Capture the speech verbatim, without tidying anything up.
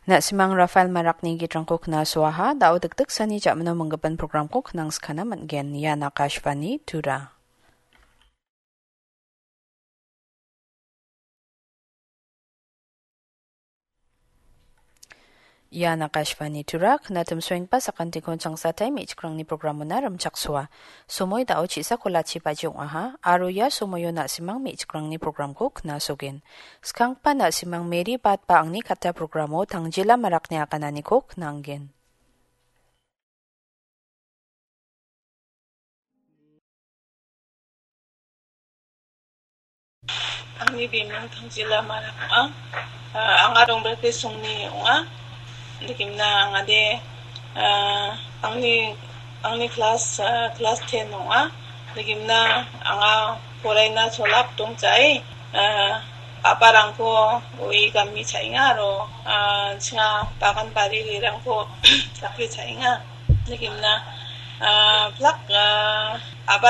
Na·simang Rafael Marakni gitrangko knasoaha, da·o dikdiksani ja·mino minggipa programko knangskana man·gen. Ian Akashvani Tura. Ian Akashvani Tura, knatimsoenggipa sakantikon changsatai me·chikrangni programona rimchaksoa. Somoi da·o chisa kolachi baji ong·aha, aro ia somoio na·simang me·chikrangni programko knasogen. Skanggipa na·simang Mary Bat ba Angni Katta programo Tangjila Marakni agananiko knanggen. Angni bimung Tangjila Marak ong·a. Ah, anga Rongbrekri songni ong·a. Nikimna angade, ah, angni, angni klas, ah, klas ten ong·a. Nikimna anga poraina cholap dongchai. Ah, a·barangko ue gami cha·enga aro, ah, chinga bagan bari guerangko dake cha·enga. Nikimna, ah, plak, ah, a·ba